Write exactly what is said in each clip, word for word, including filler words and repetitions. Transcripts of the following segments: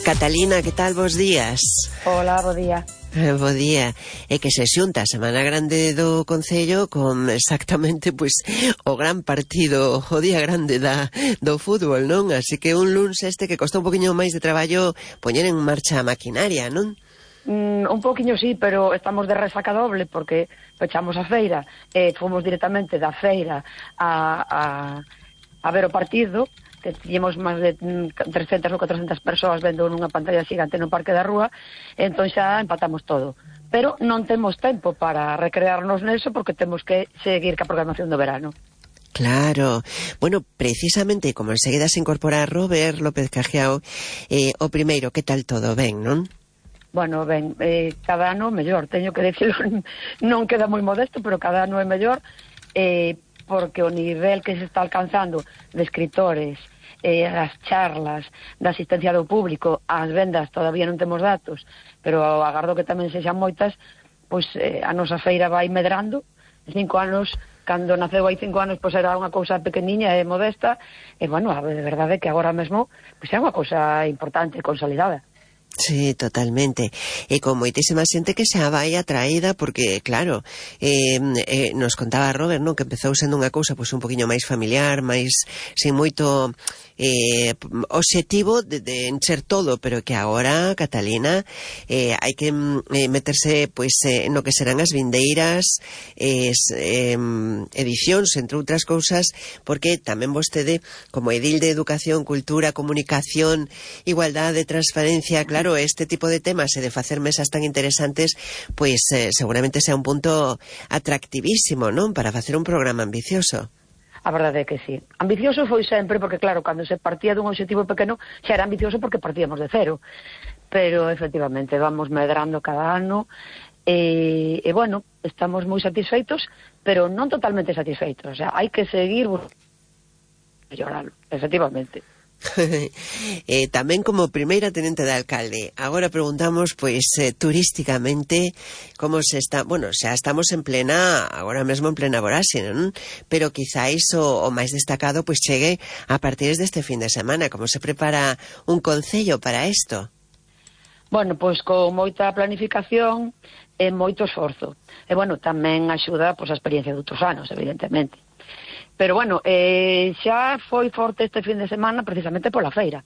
Catalina, que tal, bos días? Hola, bo día. Eh, bo día. É que se xunta a Semana Grande do Concello con exactamente, pois, o gran partido, o día grande da, do fútbol, non? Así que un luns este que costou un poquinho máis de traballo poñer en marcha a maquinaria, non? Mm, un poquinho sí, pero estamos de resaca doble porque pechamos a feira e eh, fomos directamente da feira a, a, a ver o partido, que tiñemos máis de trescentas ou catrocentas persoas vendo nunha pantalla xigante no Parque da Rúa, e entón xa empatamos todo. Pero non temos tempo para recrearnos neso porque temos que seguir ca programación do verano. Claro. Bueno, precisamente, como enseguida se incorpora Robert López Cajiao, eh, o primeiro, que tal todo? Ben, non? Bueno, ben, eh, cada ano mellor, teño que decirlo, non queda moi modesto, pero cada ano é mellor, eh, porque o nivel que se está alcanzando de escritores, eh, as charlas, da asistencia do público, as vendas todavía non temos datos, pero agardo que tamén sexan moitas, pois eh, a nosa feira vai medrando. Cinco anos, cando naceu hai cinco anos, pois era unha cousa pequeniña e modesta, e bueno, a verdade é que agora mesmo pois é unha cousa importante e consolidada. Sí, totalmente. E con moitísima xente que xa vai atraída porque, claro, eh, eh, nos contaba Robert, non, que empezou sendo unha cousa pois un poquinho máis familiar, máis sin moito eh, obxectivo de, de encher todo, pero que agora, Catalina, eh, hai que eh, meterse pois eh, no que serán as vindeiras eh, eh, edicións, entre outras cousas, porque tamén vostede, como edil de Educación, Cultura, Comunicación, Igualdade, Transparencia, claro, este tipo de temas e de facer mesas tan interesantes, pois eh, seguramente sea un punto atractivísimo, non? Para facer un programa ambicioso. A verdade é que sí. Ambicioso foi sempre, porque claro, cando se partía dun objetivo pequeno, xa era ambicioso porque partíamos de cero. Pero, efectivamente, vamos medrando cada ano, e, e bueno, estamos moi satisfeitos, pero non totalmente satisfeitos. O sea, hai que seguir mellorando, efectivamente. eh, tamén como primeira tenente de alcalde, agora preguntamos pois eh, turísticamente como se está, bueno, xa estamos en plena, agora mesmo en plena voráxine, non? Pero quizáis o, o máis destacado pois chegue a partir deste fin de semana. Como se prepara un concello para isto? Bueno, pois con moita planificación e moito esforzo, e bueno, tamén axuda pois a experiencia de outros anos, evidentemente. Pero bueno, eh, xa foi forte este fin de semana precisamente pola feira,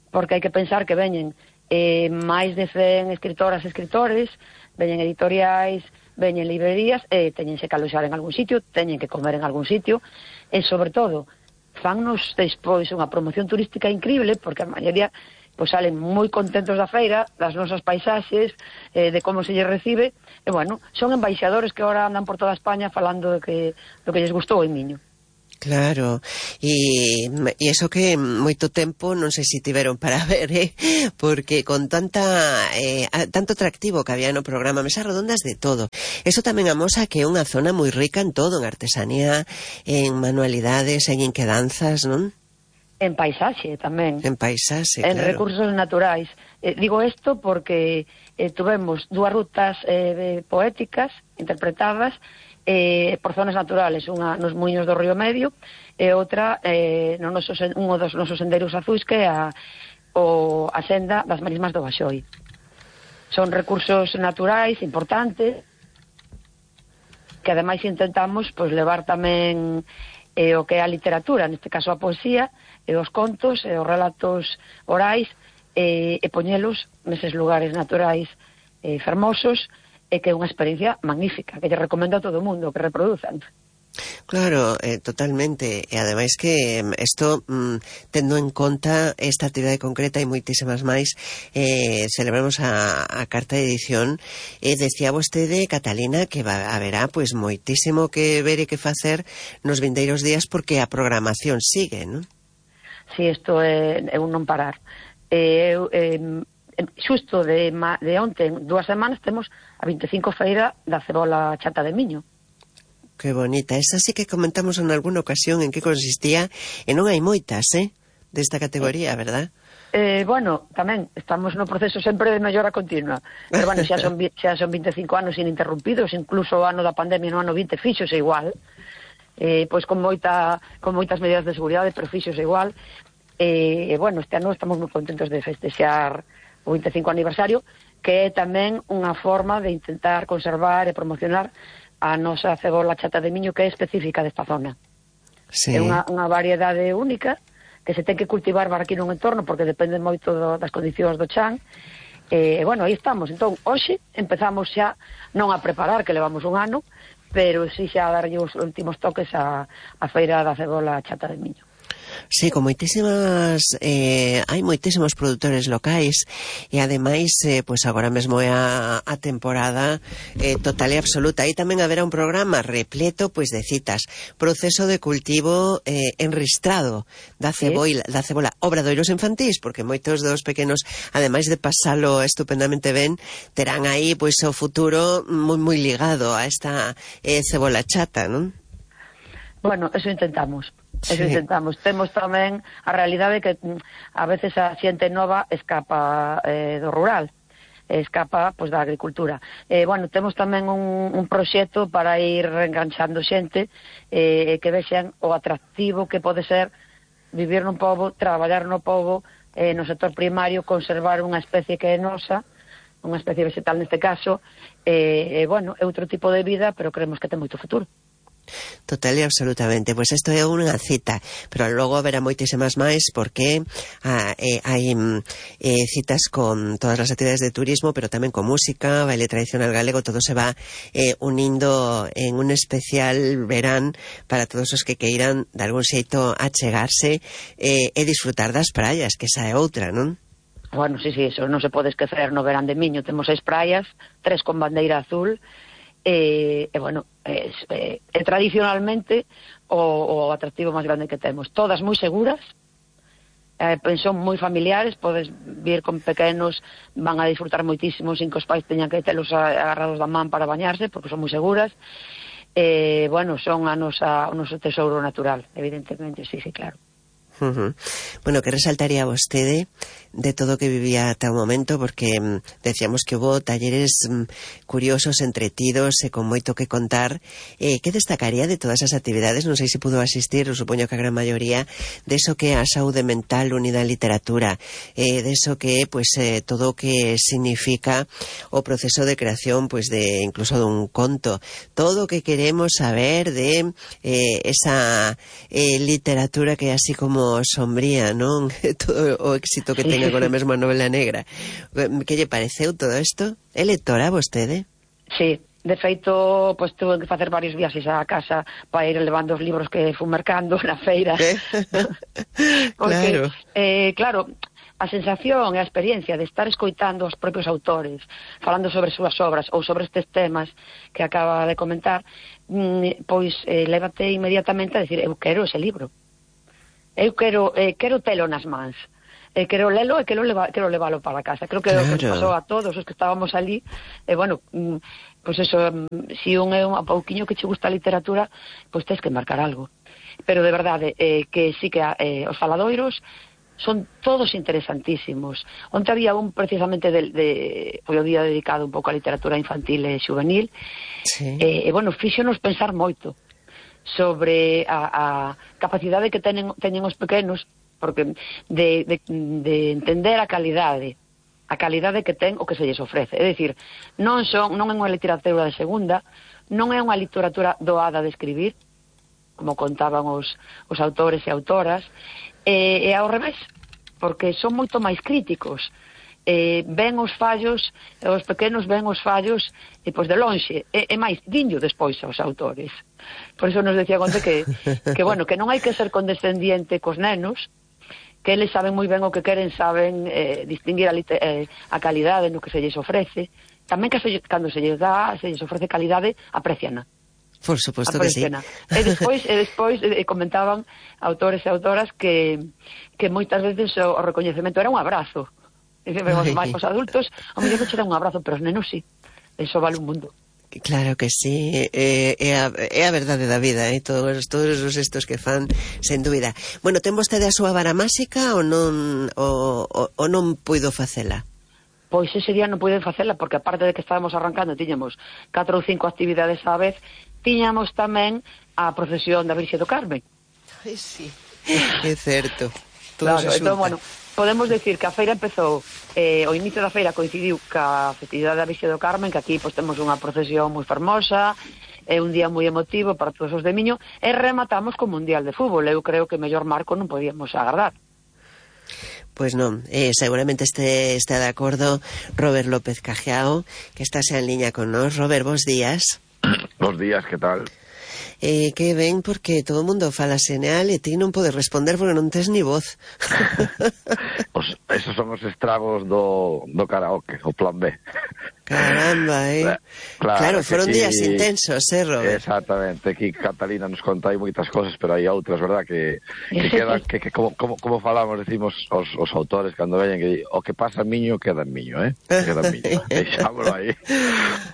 porque hai que pensar que veñen eh, máis de cen escritoras e escritores, veñen editoriais, veñen librerías, e teñense que aloxar en algún sitio, teñen que comer en algún sitio, e sobre todo, fannos despois unha promoción turística increíble, porque a maioría pois salen moi contentos da feira, das nosas paisaxes, eh, de como se lles recibe, e bueno, son embaixadores que ahora andan por toda España falando de que, do que lles gustou en Miño. Claro, e, e eso que moito tempo non sei se tiveron para ver, eh? Porque con tanta eh, tanto atractivo que había no programa, mesas redondas de todo, eso tamén amosa que é unha zona moi rica en todo, en artesanía, en manualidades, en inquedanzas, non? En paisaxe tamén. En paisaxe, en claro. Recursos naturais. Eh, digo isto porque eh, tuvemos dúas rutas eh, poéticas interpretadas eh, por zonas naturales, unha nos muiños do Río Medio e outra eh, no noso, un dos nosos sendeiros azuis, que é a, o, a senda das Marismas do Baxoi. Son recursos naturais importantes que ademais intentamos pois levar tamén eh, o que é a literatura, neste caso a poesía, e os contos e os relatos orais, e, e poñelos neses lugares naturais eh, fermosos, e que é unha experiencia magnífica, que lle recomendo a todo o mundo que reproduzan. Claro, eh, totalmente, e ademais que isto, mm, tendo en conta esta actividade concreta e moitísimas máis, eh, celebramos a, a carta de edición, e eh, decía vostede, Catalina, que va, haberá pois moitísimo que ver e que facer nos vindeiros días, porque a programación sigue, non? Si, isto é, é un non parar. Eh, eh, xusto de, de onte, dúas semanas, temos a vinte e cinco feira da cebola chata de Miño. Que bonita. Esa sí que comentamos en alguna ocasión en que consistía, e non hai moitas, eh, desta categoría, eh, verdad? Eh, bueno, tamén estamos no proceso sempre de mellora continua, pero bueno, xa son, xa son vinte e cinco anos ininterrumpidos, incluso o ano da pandemia no ano vinte fixose igual, eh, pois con moita con moitas medidas de seguridade, pero fixose igual. E, e bueno, este ano estamos moi contentos de festexar o vinte e cinco aniversario, que é tamén unha forma de intentar conservar e promocionar a nosa cebola chata de miño, que é específica desta zona. Sí. É unha, unha variedade única que se ten que cultivar para aquí nun entorno, porque depende moito do, das condicións do chan. E, bueno, aí estamos. Entón, hoxe empezamos xa, non a preparar, que levamos un ano, pero si xa a darlle os últimos toques a, a feira da cebola chata de miño. Sí, con moitísimas eh, hai moitísimos produtores locais e ademais, eh, pois agora mesmo é a, a temporada eh, total e absoluta. Aí tamén haberá un programa repleto pois de citas, proceso de cultivo eh, enristrado da cebola, ¿Sí? da cebola, obradoiros infantís, porque moitos dos pequenos, ademais de pasalo estupendamente ben, terán aí pois o futuro moi moi ligado a esta eh, cebola chata, non? Bueno, eso intentamos. Eso Sí. intentamos. Temos tamén a realidade que a veces a xente nova escapa eh, do rural, escapa pois da agricultura. Eh, bueno, temos tamén un, un proxecto para ir reenganchando xente eh, que vexan o atractivo que pode ser vivir nun pobo, traballar no pobo, eh, no sector primario, conservar unha especie que é nosa, unha especie vegetal neste caso, e eh, eh, bueno, é outro tipo de vida, pero creemos que ten moito futuro. Total e absolutamente, pois isto é unha cita, pero logo haberá moitísimas máis porque ah, eh, hai eh, citas con todas as actividades de turismo, pero tamén con música, baile tradicional galego, todo se va eh, unindo en un especial verán para todos os que queiran de algún xeito achegarse eh, e disfrutar das praias, que esa é outra, non? Bueno, sí, sí, eso non se pode esquecer. No verán de Miño temos seis praias, tres con bandeira azul. E, e bueno, é, é, é tradicionalmente o, o atractivo máis grande que temos. Todas moi seguras, eh, son moi familiares, podes vir con pequenos, van a disfrutar moitísimo sin que os pais teñan que telos agarrados da man para bañarse, porque son moi seguras. E, bueno, son a nosa, o noso tesouro natural, evidentemente, sí, sí, claro. Uh-huh. Bueno, que resaltaría vostede de todo o que vivía ata o momento, porque mm, decíamos que hubo talleres mm, curiosos, entretidos e con moito que contar. Eh, que destacaría de todas as actividades? Non sei se pudo asistir, eu supoño que a gran maioría, de eso que é a saúde mental unida á literatura, eh, de eso que é pues, eh, todo o que significa o proceso de creación pues, de incluso dun conto, todo o que queremos saber de eh, esa eh, literatura que é así como sombría, non? Todo o éxito que ten agora mesmo a novela negra. Que lle pareceu todo isto? É lectora vostede? Sí, de feito, pois tuve que facer varios viaxes á casa para ir levando os libros que fui mercando na feira. Eh? Porque, claro. Eh, claro, a sensación e a experiencia de estar escoitando os propios autores falando sobre as súas obras ou sobre estes temas que acaba de comentar, pois eh, lévate inmediatamente a decir, eu quero ese libro. Eu quero, eh, quero telo nas mans, eh, quero lelo e quero, leva, quero levalo para casa. Creo que claro. O que pasou a todos os que estábamos ali, eh, bueno, mm, pois eso, mm, si un é un pouquiño que che gusta a literatura, pois tens que marcar algo. Pero de verdade, eh, que sí que eh, os faladoiros son todos interesantísimos. Onte había un precisamente de, de foi o día dedicado un pouco á literatura infantil e juvenil, sí. e, eh, bueno, fíxonos pensar moito sobre a, a capacidade que tenen, teñen os pequenos, porque de, de, de entender a calidade, a calidade que ten o que se lles ofrece. É dicir, non son non é unha literatura de segunda, non é unha literatura doada de escribir, como contaban os, os autores e autoras, e, e ao revés, porque son moito máis críticos. Eh, ven os fallos, os pequenos ven os fallos e pois de lonxe, e, e máis diño despois aos autores. Por iso nos decía Conte que, que bueno, que non hai que ser condescendiente cos nenos, que eles saben moi ben o que queren, saben eh, distinguir a, eh, a calidade no que se lles ofrece, tamén que se, cando se lles dá, se lles ofrece calidade, apreciana. Por suposto que sí. E despois, e despois eh, comentaban autores e autoras que, que moitas veces o, o recoñecemento era un abrazo. E vemos máis os adultos, o mellor non che dá un abrazo, pero os nenos sí. Eso vale un mundo. Claro que sí, é, é, a, é a verdade da vida, eh? todos, todos os estos que fan, sen dúbida. Bueno, ten vostede a súa vara máxica ou non, ou, ou, ou non puido facela? Pois ese día non puiden facela, porque aparte de que estábamos arrancando, tiñamos catro ou cinco actividades á vez, tiñamos tamén a procesión da Virxe do Carmen. Ai, sí, é certo. Claro, entón, bueno, podemos decir que a feira empezou, eh, o inicio da feira coincidiu ca festividade da Virxe do Carmen, que aquí pois, temos unha procesión moi fermosa, é un día moi emotivo para todos os de Miño, e rematamos co Mundial de Fútbol. Eu creo que mellor marco non podíamos agardar. Pois non, eh, seguramente este está de acordo Robert López Cajiao, que estás en liña con nós. Robert, bons días. Bons días, que tal? Eh, que ben, porque todo o mundo fala seneal e ti non podes responder porque non tes ni voz. Os, esos son os estragos do, do karaoke, o plan B. Caramba, eh? Claro, claro foron aquí, días intensos, eh, Robert? Exactamente, aquí Catalina nos conta aí moitas cosas, pero hai outras, verdad, que, que quedan, que, que como, como, como falamos, decimos os, os autores cando veñen, que o que pasa en Miño, queda en Miño, eh? Queda en Miño, deixámoslo aí.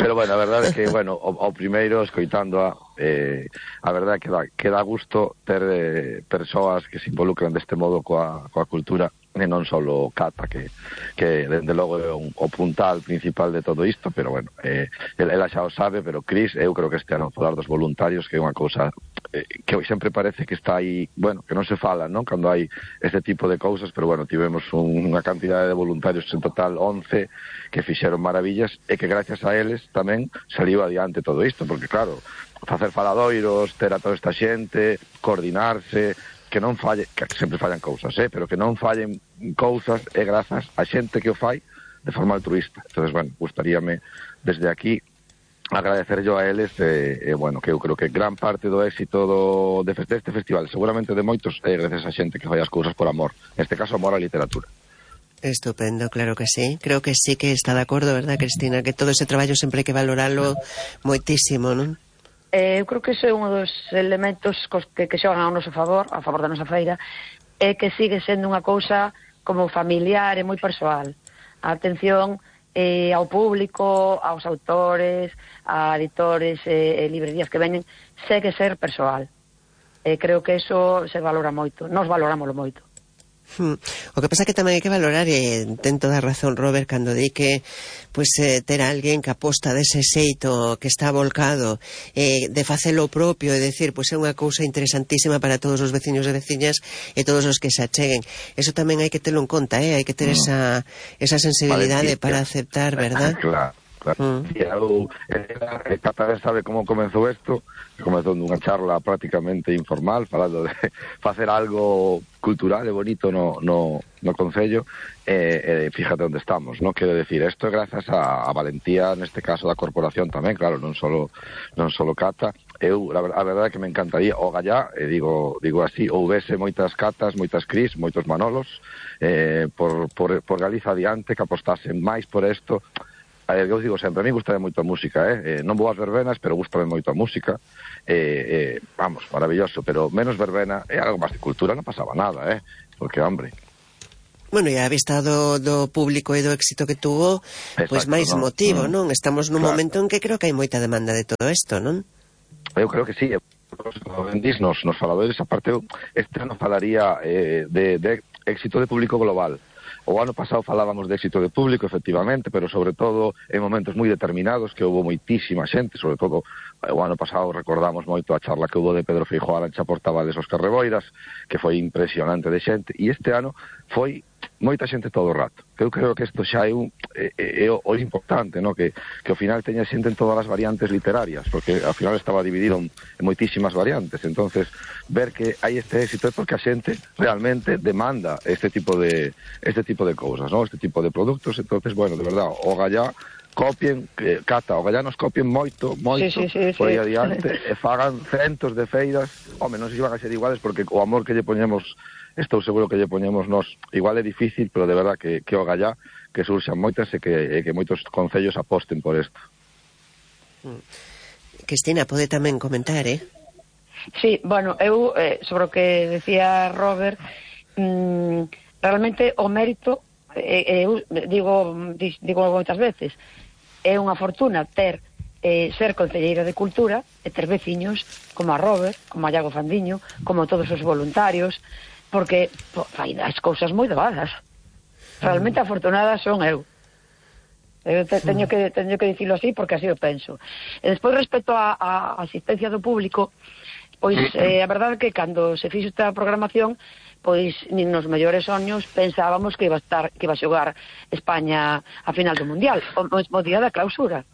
Pero, bueno, a verdade é que, bueno, o, o primeiro, escoitando a Eh, a verdade é que dá, que dá gusto ter eh, persoas que se involucran deste modo coa, coa cultura, e non só Cata, que, que dende logo é un, o puntal principal de todo isto, pero bueno, eh, ela xa o sabe, pero Cris, eu creo que este ano falar dos voluntarios, que é unha cousa eh, que sempre parece que está aí, bueno, que non se fala, non? Cando hai este tipo de cousas, pero bueno, tivemos un, unha cantidade de voluntarios, en total once, que fixeron maravillas, e que gracias a eles tamén saliu adiante todo isto, porque claro, facer faladoiros, ter a toda esta xente, coordinarse, que non falle, que sempre fallan cousas, eh, pero que non fallen cousas é grazas a xente que o fai de forma altruista. Entonces, bueno, gustaríame desde aquí agradecer yo a eles, e, eh, bueno, que eu creo que gran parte do éxito do, de este festival, seguramente de moitos, é gracias a xente que fai as cousas por amor, neste caso amor á literatura. Estupendo, claro que sí. Creo que sí que está de acordo, verdad, Cristina? Que todo ese traballo sempre hai que valoralo moitísimo, non? Eh, eu creo que ese é un dos elementos que, que xogan ao noso favor, a favor da nosa feira, é que sigue sendo unha cousa como familiar e moi persoal. A atención eh, ao público, aos autores, a editores e eh, librerías que veñen, segue ser persoal. Eh, creo que eso se valora moito, nos valorámoslo moito. Hmm. O que pasa que tamén hai que valorar, e ten toda a razón Robert cando di que pues, eh, ter alguén que aposta dese xeito, que está volcado eh, de facelo propio, e decir, pois pues, é unha cousa interesantísima para todos os veciños e veciñas e todos os que se acheguen. Eso tamén hai que telo en conta, eh? Hai que ter esa, esa sensibilidade para aceptar, verdad? Claro. Claro. Mm. Eu, ela, Cata sabe como comenzou isto, comenzou nunha charla prácticamente informal, falando de facer algo cultural e bonito no, no, no Concello, e, e fíjate onde estamos, non? Quero decir, isto é grazas a, a valentía, neste caso da corporación tamén, claro, non solo, non solo Cata. Eu, a, a verdade é que me encantaría, o gallá, e digo, digo así, houvese moitas Catas, moitas Cris, moitos Manolos, eh, por, por, por Galiza adiante, que apostasen máis por isto. Eu digo sempre, a mí gustame moito a música, eh? eh non vou ás verbenas, pero gustame moito a música, eh, eh, vamos, maravilloso, pero menos verbena e algo máis de cultura non pasaba nada, eh? Porque, hombre... Bueno, e a vista do, do público e do éxito que tuvo, pois pues máis ¿no? motivo, mm. non? Estamos nun claro. momento en que creo que hai moita demanda de todo isto, non? Eu creo que sí, como vendís nos, nos faladores, aparte, este ano falaría eh, de, de éxito de público global. O ano pasado falábamos de éxito de público, efectivamente, pero sobre todo en momentos moi determinados, que houve moitísima xente, sobre todo o ano pasado recordamos moito a charla que houve de Pedro Feijóo, Arancha Portavales, Óscar Reboiras, que foi impresionante de xente, e este ano foi moita xente todo o rato. Que eu creo que isto xa é, un, é, é o, o importante, no? que, que ao final teña xente en todas as variantes literarias, porque ao final estaba dividido en, en moitísimas variantes. Entonces, ver que hai este éxito é porque a xente realmente demanda este tipo de este tipo de cousas, no? Este tipo de produtos. Entonces, bueno, de verdad, o gallá copien, eh, Cata, o gallá nos copien moito, moito, sí, sí, sí, por aí sí. adiante, e fagan centos de feiras. Home, non sei se van a ser iguales, porque o amor que lle poñemos, estou seguro que lle poñemos nós, igual é difícil, pero de verdad que, que o gallá, que surxan moitas e que, e que moitos concellos aposten por isto. Cristina, pode tamén comentar, eh? Sí, bueno, eu, eh, sobre o que decía Robert, mmm, realmente o mérito, eh, eu digo, digo moitas veces, é unha fortuna ter eh, ser concelleira de Cultura e ter veciños como a Robert, como a Iago Fandiño, como todos os voluntarios, porque po, fai as cousas moi doadas. Realmente afortunada son eu. Eu te, teño que teño que dicilo así porque así o penso. E despois, respecto á asistencia do público, pois eh, a verdade é que cando se fixo esta programación, pois nin nos mellores soños pensábamos que iba a estar que iba a xogar España a final do Mundial, o mesmo día da clausura.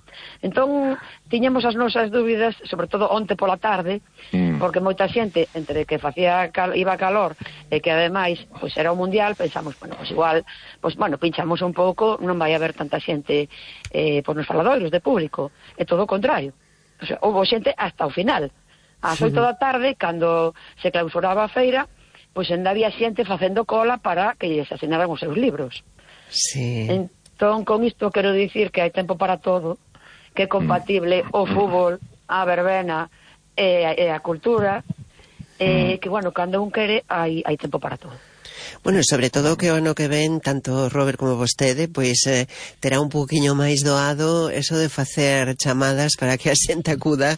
Entón, tiñamos as nosas dúbidas, sobre todo onte pola tarde, mm. porque moita xente, entre que facía cal, iba calor e que ademais pois era o Mundial, pensamos, bueno, pois igual, pois bueno, pinchamos un pouco, non vai haber tanta xente eh, pois nos faladoiros de público, e todo o contrario. O sea, houve xente hasta o final. Ás oito da tarde, cando se clausuraba a feira, pois ainda había xente facendo cola para que lles asinaran os seus libros. Sí. Entón, con isto quero dicir que hai tempo para todo, que é compatible o fútbol, a verbena e, e a cultura, e que, bueno, cando un quere, hai, hai tempo para todo. Bueno, sobre todo que o ano que ven, tanto Robert como vostede, pois eh, terá un poquinho máis doado eso de facer chamadas para que a xente acuda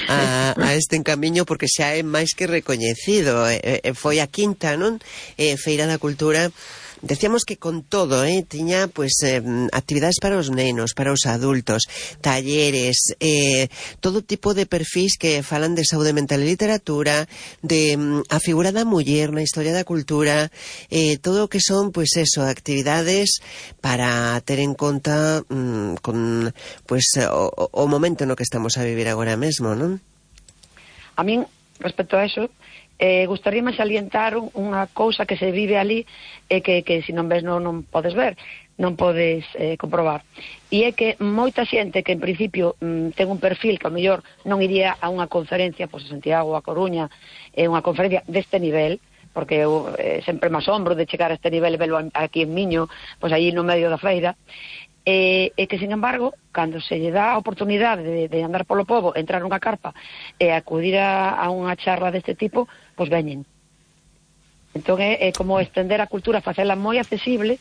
a, a este encamiño, porque xa é máis que recoñecido. Eh, eh, foi a quinta, non? Eh, Feira da Cultura. Decíamos que con todo, eh, tiña pues eh, actividades para os nenos, para os adultos, talleres, eh, todo tipo de perfis que falan de saúde mental e literatura, de mm, a figura da muller na historia da cultura, eh, todo o que son, pues eso, actividades para ter en conta mm, con pues o, o momento no que estamos a vivir agora mesmo, non? A min, respecto a eso, Eh, gustaríame salientar un, unha cousa que se vive ali e que, que se non ves non, non podes ver, non podes eh, comprobar. E é que moita xente que en principio mm, ten un perfil que ao mellor non iría a unha conferencia, pois a Santiago, a Coruña, é eh, unha conferencia deste nivel, porque eu eh, sempre me asombro de chegar a este nivel e velo aquí en Miño, pois aí no medio da feira, e, e que, sin embargo, cando se lle dá a oportunidade de, de andar polo pobo, entrar nunha carpa e acudir a, a unha charla deste tipo, pois veñen. Entón é, é como estender a cultura, facela moi accesible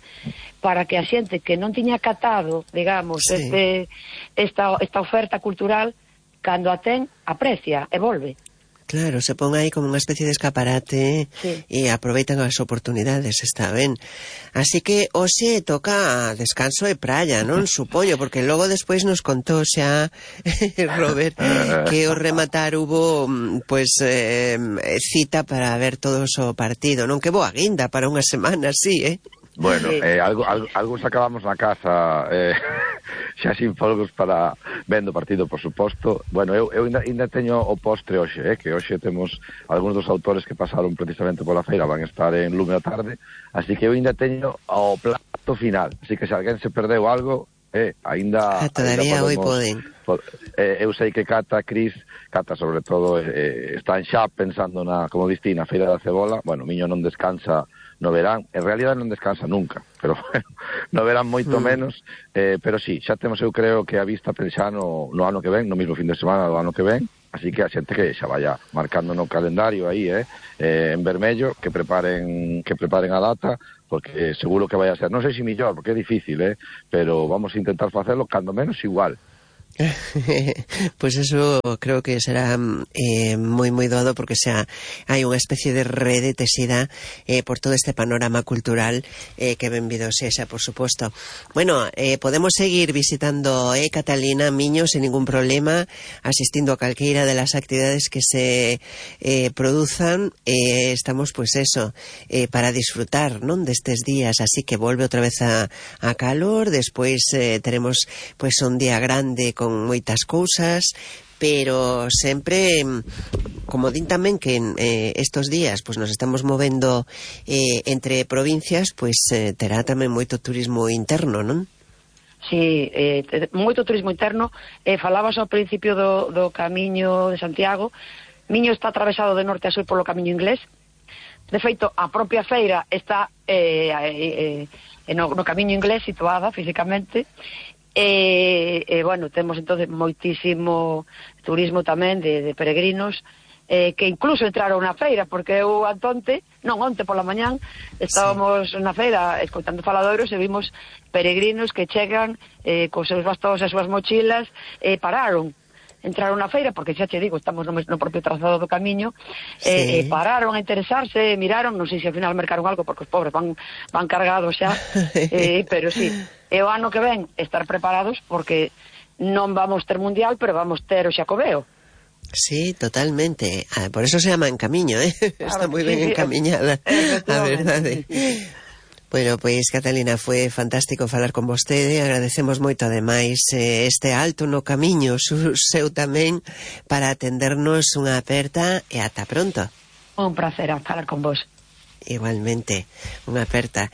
para que a xente que non tiña catado, digamos, sí. este, esta, esta oferta cultural, cando a ten, aprecia e volve. Claro, se pon aí como unha especie de escaparate, sí. E aproveitan as oportunidades, está ben. Así que hoxe toca descanso e praia, non? Supoño, porque logo despois nos contou xa Robert que o rematar hubo pues eh, cita para ver todo o partido, non? Que boa guinda para unha semana, sí, eh? Bueno, eh, algo, algo, algo sacábamos na casa eh, xa sin folgos para vendo o partido, por suposto. Bueno, eu, eu ainda, ainda teño o postre hoxe, eh, que hoxe temos algúns dos autores que pasaron precisamente pola feira, van estar en Lume a tarde, así que eu ainda teño o plato final, así que se alguén se perdeu algo, eh, ainda... Ah, todavía hoy poden. Pod, eh, eu sei que Cata, Cris, Cata sobre todo, eh, están xa pensando na, como diste, na feira da cebola. Bueno, Miño non descansa no verán, en realidad non descansa nunca, pero bueno, no verán moito mm. menos, eh, pero sí, xa temos, eu creo que a vista xa no, no ano que ven, no mismo fin de semana do ano que ven, así que a xente que xa vaya marcando no calendario aí, eh, eh en vermello, que preparen que preparen a data, porque seguro que vai a ser, non sei se millor, porque é difícil, eh, pero vamos a intentar facerlo, cando menos igual. Pues eso creo que será eh, moi moi doado, porque xa hai unha especie de rede tesida eh, por todo este panorama cultural eh, que benvido sexa, por suposto. Bueno, eh, podemos seguir visitando eh, Catalina, Miño, sin ningún problema, asistindo a calqueira de las actividades que se eh, produzan. Eh, estamos, pues eso, eh, para disfrutar, non, destes días, así que volve outra vez a, a calor, despois eh, teremos pues un día grande con moitas cousas, pero sempre, como din tamén que eh, estos días pues nos estamos movendo eh, entre provincias, pues eh, terá tamén moito turismo interno, non? Sí, eh, moito turismo interno. Eh, falabas ao principio do, do camiño de Santiago. Miño está atravesado de norte a sur polo camiño inglés. De feito, a propia feira está eh, eh, eh, no, no camiño inglés, situada físicamente. E, e, bueno, temos entonces moitísimo turismo tamén de, de peregrinos eh, que incluso entraron na feira, porque eu antonte, non, onte pola mañán estábamos sí. na feira escoitando faladoiros e vimos peregrinos que chegan eh, cos seus bastóns e as súas mochilas e eh, pararon, entraron na feira, porque xa che digo, estamos no, no propio trazado do camiño, sí. e eh, eh, pararon a interesarse, miraron, non sei se ao final mercaron algo, porque os pobres van, van cargados xa, eh, pero sí, e o ano que ven estar preparados, porque non vamos ter mundial, pero vamos ter o Xacobeo. Sí, totalmente. Ah, por eso se llama En Camiño, ¿eh? Claro, está moi ben sí, encamiñada, a verdade. Sí. Bueno, pois, Catalina, foi fantástico falar con vostede. Agradecemos moito, ademais, eh, este alto no camiño su, seu tamén para atendernos unha aperta e ata pronto. Un placer falar con vos. Igualmente, unha aperta.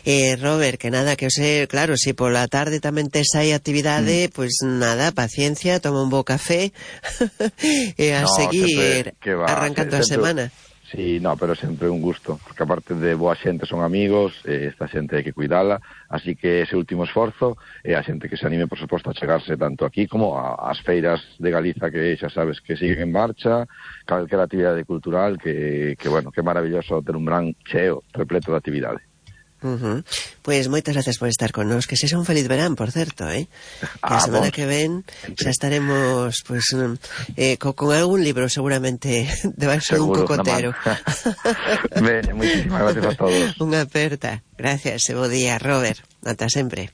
Eh, Robert, que nada, que eu sei, claro, se si pola tarde tamén tes aí actividade, mm. pois nada, paciencia, toma un bo café e a no, seguir sempre, va, arrancando sempre, a semana. Sí, no, pero sempre un gusto, porque aparte de boa xente son amigos, eh, esta xente hai que cuidala, así que ese último esforzo é a xente que se anime, por suposto, a chegarse tanto aquí como ás feiras de Galiza, que xa sabes que siguen en marcha, calquera actividade cultural, que, que bueno, que maravilloso ter un gran cheo repleto de actividade. Uh-huh. Pois moitas gracias por estar con nos. Que sexa un feliz verán, por certo, eh? Que a semana que ven xa estaremos pues, eh, co, con algún libro seguramente debaixo dun cocotero. Ben, moitísimas gracias a todos. Unha aperta. Gracias, e bo día, Robert. Ata sempre.